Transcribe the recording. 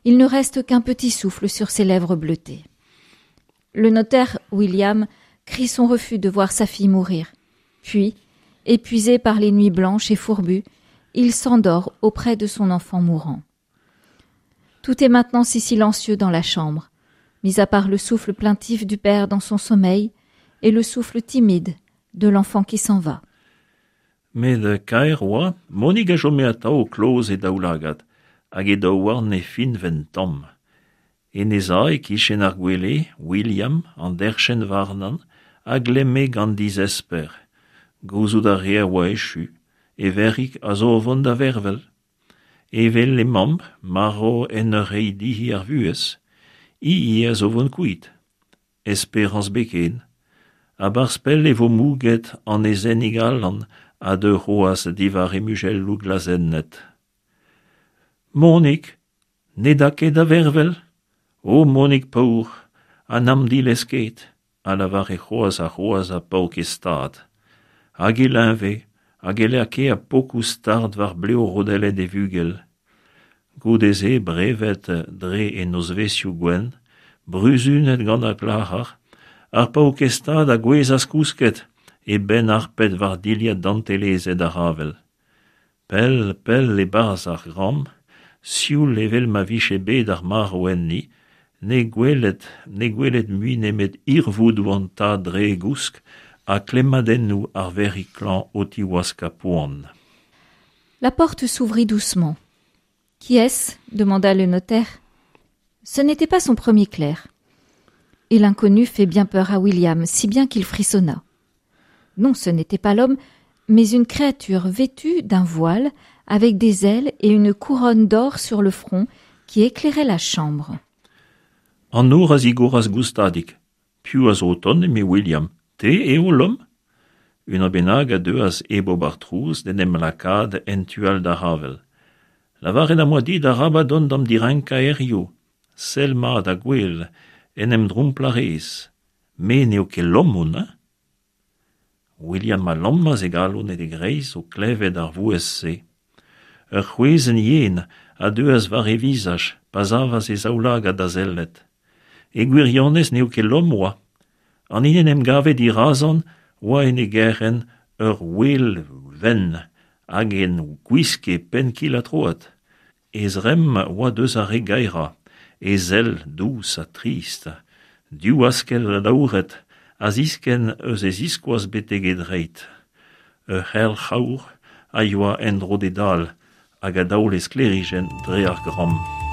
Il ne reste qu'un petit souffle sur ses lèvres bleutées. Le notaire William crie son refus de voir sa fille mourir. Puis, épuisé par les nuits blanches et fourbues, il s'endort auprès de son enfant mourant. Tout est maintenant si silencieux dans la chambre, mis à part le souffle plaintif du père dans son sommeil et le souffle timide de l'enfant qui s'en va. Met kaer oa, Monig a chome atav kloz he daoulagad, hag he daouarn ne fiñvent tamm. En he sav e-kichen ar gwele, William, an derchenn warnan, a glemme gant dizesper. Gouzout a rea oa echu, e verc'hig a zo o vont da vervel. Evel he mamm, marv en ur reiñ dezhi ar vuhez, hi ivez a zo vont kuit. Esperañs ebet ken. A-barzh pell e vo mouget an aezhennig alan a deu c'hoazh diwar he muzelloù glazennet. Monig, ne da ket da vervel? O Monig paour, ha n'am dilez ket, a lavare c'hoazh ha c'hoazh ar paourkaezh tad. Hag e leñve, hag e lakae pokoù start war blev rodellet e vugel. Goude-se brevet dre e nozvezhioù gwenn, bruzunet gant ar glac'har, ar paourkaezh tad a gouezhas kousket, e benn harpet war dilhad dantelezet ar avel. Pell, pell e-barzh ar gambr, sioul evel ma vije bet ar marv enni, ne gweled ne gweled mui nemet hirvoudoù an tad dre e gousk ha klemmadennoù ar verc'hig klañv o tiwaskañ poan. La porte s'ouvrit doucement. Qui est-ce demanda le notaire. Ce n'était pas son premier clerc. Et l'inconnu fait bien peur à William, si bien qu'il frissonna. Non, ce n'était pas l'homme, mais une créature vêtue d'un voile, avec des ailes et une couronne d'or sur le front qui éclairait la chambre. An nor a zigoras goustadik. Piv a zo o tont, eme William, te eo, Lom? Unan bennak a deuas hep ober trouz d'en em lakaat en tu all d'ar c'havell. Lavaret am boa dit arabat dont d'am direnkañ hiziv. Sell mat ha gwell, en em dromplañ a rez. Me n'eo ket Lom on, hein? William a lammas e galon en e greiz o klevet ar vouezh-se. Ur c'hwezenn yen a deuas war e vizaj pa savas e zaoulagad da sellet. E gwirionez n'eo ket Lom 'oa. An hini en em gave dirazañ 'oa en e gerc'henn ur ouel wenn hag en gwiske penn-kil-ha-troad. E zremm 'oa deus ar re gaerañ, e sell dous ha trist, div askell alaouret a ziskenn eus e ziskoaz betek e dreid. Ur c'helc'h aour a yoa en-dro d'e dal hag a daole sklêrijenn dre ar gramm.